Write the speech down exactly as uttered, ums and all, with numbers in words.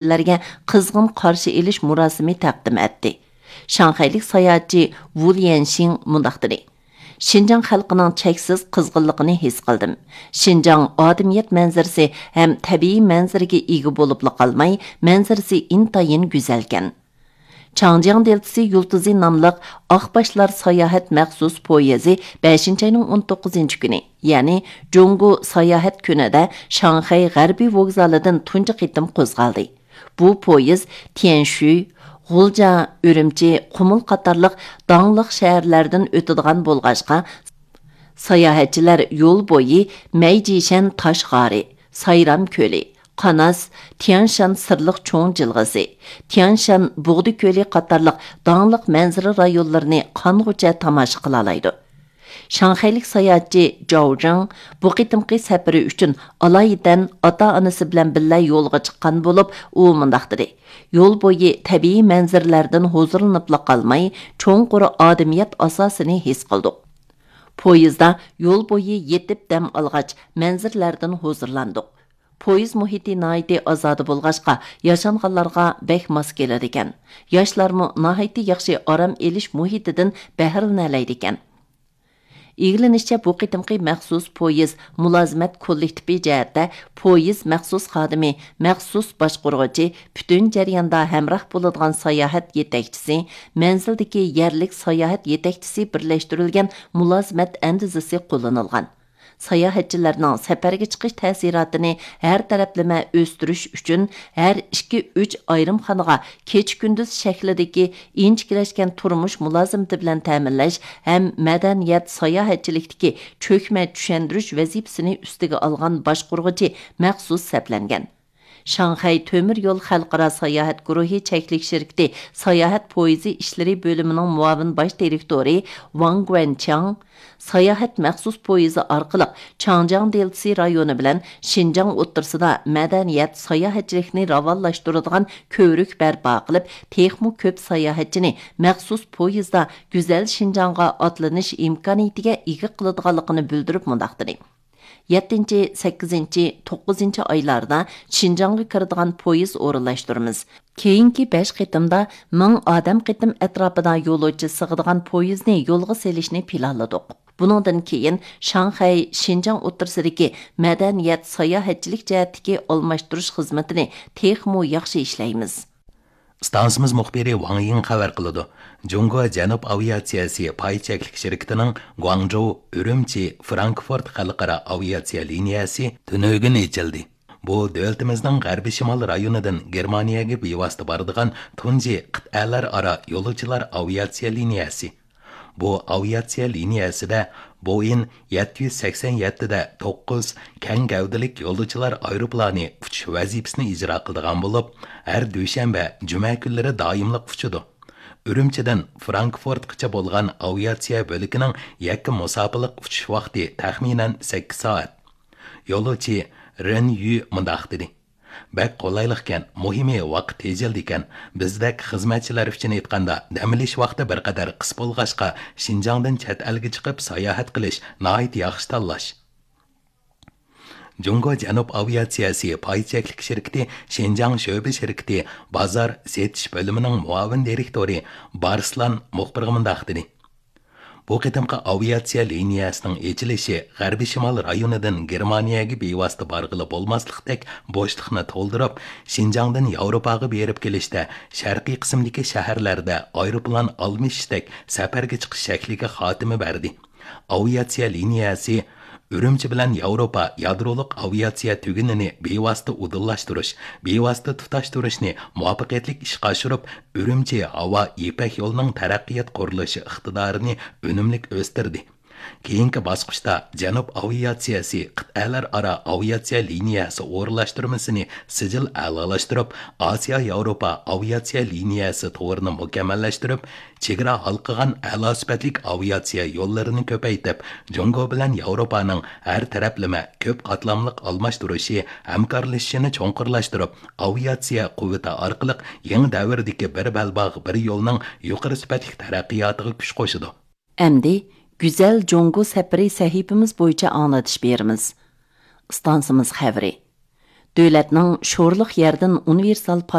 لەرگە قىزغىن قارشى ئېلىش مۇراسىمى تەقدىم ئەتتى. شاڭخەيلىك ساياھەتچى ۋۇ ليەنشىڭ مۇنداق دېدى: شىنجاڭ خەلقىنىڭ چەكسىز قىزغىنلىقىنى ھېس قىلدىم. شىنجاڭ ئادەمىيەت مەنزىرىسى ھەم تەبىئىي مەنزىرىگە ئىگە بولۇپلا قالماي، مەنزىرىسى ئىنتايىن گۈزەلكەن. چاڭجياڭ دېلتىسى يۇلتۇزى ناملىق ئاقباشلار ساياھەت مەخسۇس پويىزى بەشىنچى ئاينىڭ ئون توققۇزىنچى كۈنى، يەنى جۇڭگو ساياھەت كۈنىدە شاڭخەي غەربىي ۋوگزالىدىن تۇنجى قېتىم قوزغالدى. بۇ پويىز تيەنشۈي، غۇلجا، ئۈرۈمچى، قۇمۇل قاتارلىق داڭلىق شەھەرلەردىن ئۆتىدىغان بولغاچقا، ساياھەتچىلەر يول بويى مەيجىشەن تاش غارى، سايرام كۆلى، قاناس، تيانشان سىرلىق چوڭ جىلغىسى، تيانشان بۇغدا كۆلى قاتارلىق داڭلىق مەنزىرە رايونلىرىنى قانغۇچە تاماشا قىلالايدۇ. شاڭخەيلىك ساياھەتچى جاۋ جاڭ بۇ قېتىمقى سەپىرى ئۈچۈن ئالايىتەن ئاتا-ئانىسى بىلەن بىللە يولغا چىققان بولۇپ، ئۇ مۇنداق دېدى: يول بويى تەبىئىي مەنزىرىلەردىن ھۇزۇرلىنىپلا قالماي، چوڭقۇر ئادەمىيەت ئاساسىنى ھېس قىلدۇق. پويىزدا يول بويى يېتىپ دەم ئالغاچ، مەنزىرىلەردىن ھۇزۇرلاندۇق. پويىز مۇھىتى ناھايىتى ئازادە بولغاچقا، ياشانغانلارغا بەك ماس كېلىدىكەن. ياشلارمۇ ناھايىتى ياخشى ئارام ئېلىش مۇھىتىدىن بەھرىلىنەلەيدىكەن. ئىگىلىنىشىچە، بۇ قېتىمقى مەخسۇس پويىز مۇلازىمەت كوللېكتىپى جەھەتتە پويىز مەخسۇس خادىمى، مەخسۇس باشقۇرغۇچى، پۈتۈن جەرياندا ھەمراھ بولىدىغان ساياھەت يېتەكچىسى، مەنزىلدىكى يەرلىك ساياھەت يېتەكچىسى بىرلەشتۈرۈلگەن مۇلازىمەت ئەندىزىسى قوللىنىلغان. ساياھەتچىلەرنىڭ سەپەرگە چىقىش تەسىراتىنى ھەر تەرەپلىمە ئۆستۈرۈش ئۈچۈن، ھەر ئىككى، ئۈچ ئايرىمخانىغا كېچە-كۈندۈز شەكلىدىكى ئىنچىكىلەشكەن تۇرمۇش مۇلازىمىتى بىلەن تەمىنلەش ھەم مەدەنىيەت ساياھەتچىلىكتىكى چۆكمە چۈشەندۈرۈش ۋەزىپىسىنى ئۈستىگە ئالغان باشقۇرغۇچى مەخسۇس سەپلەنگەن. شاڭخەي تۆمۈر يول خەلقئارا ساياھەت گۇرۇھى چەكلىك شىركىتى ساياھەت پويىزى ئىشلىرى بۆلۈمىنىڭ مۇئاۋىن باش دىرېكتورى ۋاڭ گۇەنچياڭ ساياھەت مەخسۇس پويىزى ئارقىلىق چاڭجياڭ دېلتىسى رايونى بىلەن شىنجاڭ ئوتتۇرىسىدا مەدەنىيەت، ساياھەتچىلىكنى راۋانلاشتۇرىدىغان كۆۋرۈك بەرپا قىلىپ، تېخىمۇ كۆپ ساياھەتچىنى مەخسۇس پويىزدا گۈزەل شىنجاڭغا ئاتلىنىش ئىمكانىيىتىگە ئىگە قىلىدىغانلىقىنى بىلدۈرۈپ مۇنداق دېدى: يەتتىنچى، سەككىزىنچى، توققۇزىنچى ئايلاردا شىنجاڭغا كىرىدىغان پويىز ئورۇنلاشتۇرىمىز. كېيىنكى بەش قېتىمدا مىڭ ئادەم قېتىم ئەتراپىدا يولۇچى سىغىدىغان پويىزنى يولغا سېلىشنى پىلانلىدۇق. بۇنىڭدىن كېيىن شاڭخەي، شىنجاڭ ئوتتۇرىسىدىكى مەدەنىيەت، ساياھەتچىلىك جەھەتتىكى ئالماشتۇرۇش خىزمىتىنى تېخىمۇ ياخشى ئىشلەيمىز. ئىستانسىمىز مۇخبىرى ۋاڭ يىڭ خەۋەر قىلىدۇ. جۇڭگو جەنۇب ئاۋىئاتسىيەسى پاي چەكلىك شىركىتىنىڭ گۇاڭجۇ، ئۈرۈمچى، فرانكفورت خەلقئارا ئاۋىئاتسىيە لىنىيەسى تۈنۈگۈن ئېچىلدى. بۇ دۆلىتىمىزنىڭ غەربىي شىمال رايونىدىن گېرمانىيەگە بىۋاسىتە بارىدىغان تۇنجى قىتئەلەر ئارا يولۇچىلار ئاۋىئاتسىيە لىنىيەسى. بۇ ئاۋىئاتسىيە لىنىيەسىدە بوئېڭ يەتتە يۈز سەكسەن يەتتىدە توققۇز كەڭ گەۋدىلىك يولۇچىلار ئايروپىلانى ئۇچۇش ۋەزىپىسىنى ئىجرا قىلىدىغان بولۇپ، ھەر دۈشەنبە، جۈمە كۈنلىرى دائىملىق ئۇچىدۇ. ئۈرۈمچىدىن فرانكفورتقىچە بولغان ئاۋىئاتسىيە بۆلىكىنىڭ يەككە مۇساپىلىق ئۇچۇش ۋاقتى تەخمىنەن سەككىز سائەت. يولۇچى رېن يۈ مۇنداق دېدى: بەك قولايلىقكەن، مۇھىمى ۋاقىت تېجىلدىكەن. بىزدەك خىزمەتچىلەر ئۈچۈن ئېيتقاندا، دەم ئېلىش ۋاقتى بىر قەدەر قىس بولغاچقا، شىنجاڭدىن چەت ئەلگە چىقىپ ساياھەت قىلىش ناھايىتى ياخشى تاللاش. جۇڭگو جەنۇب ئاۋىئاتسىيەسى پاي چەكلىك شىركىتى شىنجاڭ شۆبە شىركىتى بازار سېتىش بۆلۈمىنىڭ مۇئاۋىن دىرېكتورى بارسلان مۇخبىرغا مۇنداق دېدى: بۇ قېتىمقى ئاۋىئاتسىيە لىنىيەسىنىڭ ئېچىلىشى غەربىي شىمال رايونىدىن گېرمانىيەگە بىۋاسىتە بارغىلى بولماسلىقتەك بوشلۇقنى تولدۇرۇپ، شىنجاڭدىن ياۋروپاغا بېرىپ كېلىشتە شەرقىي قىسىمدىكى شەھەرلەردە ئايروپىلان ئالمىشىشتەك سەپەرگە چىقىش شەكلىگە خاتىمە بەردى. ئاۋىئاتسىيە لىنىيەسى ئۈرۈمچى بىلەن ياۋروپا يادرولۇق ئاۋىئاتسىيە تۈگۈنىنى بىۋاسىتە ئۇدۇللاشتۇرۇش، بىۋاسىتە تۇتاشتۇرۇشنى مۇۋەپپەقىيەتلىك ئىشقا ئاشۇرۇپ، ئۈرۈمچى ھاۋا يىپەك يولىنىڭ تەرەققىيات قۇرۇلۇشى ئىقتىدارىنى ئۈنۈملۈك ئۆستۈردى. كېيىنكى باسقۇچتا جەنۇب ئاۋىئاتسىيەسى قىتئەلەر ئارا ئاۋىئاتسىيە لىنىيەسى ئورۇنلاشتۇرمىسىنى سىجىل ئەلالاشتۇرۇپ، ئاسىيا ياۋروپا ئاۋىئاتسىيە لىنىيەسى تورىنى مۇكەممەللەشتۈرۈپ، چېگرا ھالقىغان ئەلا سۈپەتلىك ئاۋىئاتسىيە يوللىرىنى كۆپەيتىپ، جۇڭگو بىلەن ياۋروپانىڭ ھەر تەرەپلىمە كۆپ قاتلاملىق ئالماشتۇرۇشى، ھەمكارلىشىشىنى چوڭقۇرلاشتۇرۇپ، ئاۋىئاتسىيە قۇۋۋىتى ئارقىلىق يېڭى دەۋردىكى بىر بەلباغ، بىر يولنىڭ يۇقىرى سۈپەتلىك تەرەققىياتىغا كۈچ قوشىدۇ. ئەمدى گۈزەل جۇڭگو سەپىرى سەھىپىمىز بويىچە ئاڭلىتىش بېرىمىز. ئىستانسىمىز خەۋىرى. دۆلەتنىڭ شورلۇق يەردىن ئۇنىۋېرسال